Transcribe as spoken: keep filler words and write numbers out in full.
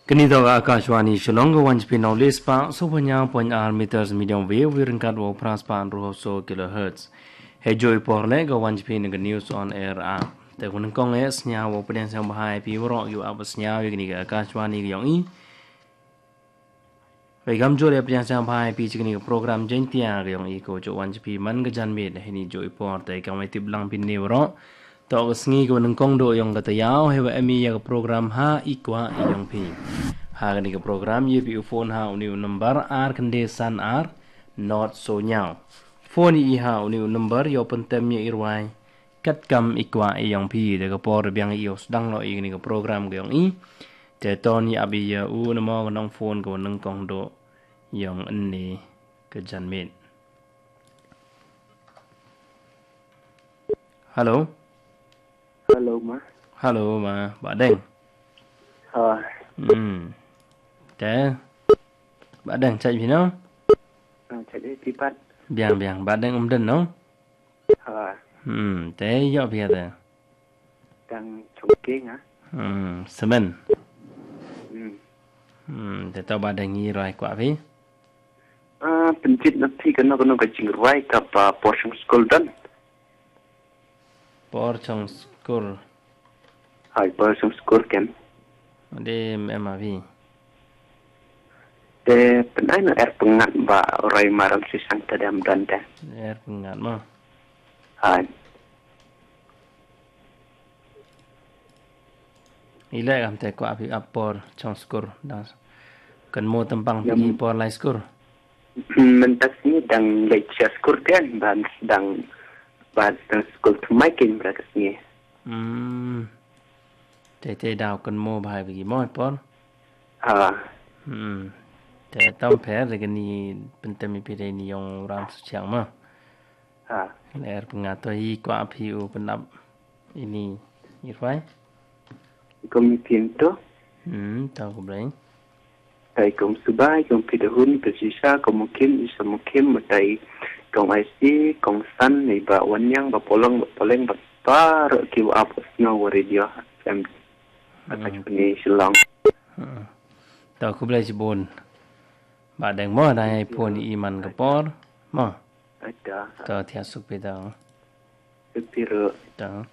Kani toh ka Akashvani Shillong, ka wan sha phi na u lai spah saw phew hynñiew point ar meters medium wave, ryngkat u phra spah hynriew phew saw kilohertz. Hei juh i por leh ka wan sha phi na ka news on air app. Te ka nyngkong eh sngewbha u pdiang sngewbha ïa phi waroh ïa u ap sngewbha ïa kani ka Akashvani ka ïong i. Wei kam jur ïa pdiang sngewbha ïa phi sha kani ka program Jaiñtia ka ïong i, ka juh wan sha phi man ka janmiet hei ni juh i por. Te kam wei tip lang phin ne waroh. Toh ka sngi ka nyngkong duh ïong ka taïew, hei wa em i ïa ka program Ha I Kwah I Ïong Phi. Ha kani ka program ïa phi u phone ha uni u number ar khyndai san ar, not so ñiaw. Phone i ha uni u number ïoh pyntem ïa i rwai katkam i kwah i ïong phi. Te ka por biang i u sdang noh i kani ka program ka ïong i. Te ton ïa abi ïa u namo ka nong phone ka nyngkong duh ïong ini ka janmiet. Hello. Hello ma. Hello ma, Bah Deng. Ha. Hmm. Te Bah Deng chait phi no? Ah, chait eh phi pat. Biang biang, Bah Deng um den no? Ha. Hmm, te ïoh phi te? Dang chongke nga. Hmm, semen. Hmm. Hmm, te to Bah Deng i rwai kwah phi? Ah, pynjit na phi kano kano ka jingrwai kaba por shong skul don. Por shong skul. Hai, por shong skul ken. De em em a phi. Te pynai na er pyngat ba rwai maram sisang tadem don te. Er pyngat mo. Hai. I leh kam te kwah phi ap por shong skul dang. Kan mo tempang phi por lai skul. Mynta sngi dang leit sha skul kan ban dang ban dang skul tmai kin bra ka sngi. Hmm. Te te daw kan mo bhai bagi mo por. Ha. Hmm. Te tam pher de ni pyntem i pire ni yong ram su chiang ma. Ha. Ler pyngato i kwah phi u pynap ini irwai. Kom i pinto. Hmm, tau ko blai. Tai kom subai, kom pidahun, pesisa, kom mukim, isa mukim, matai, kong I C, kong san, ni ba wanyang, ba polong, ba poleng, ba tar, ki wa ap, snow, wa radio, em, atak ni silang. Hmm. Tau ko blai jibun. Ba deng mo, dai pun iman ke por. Mo. Ada. Tau tia supi tau. Sepiro. Tau.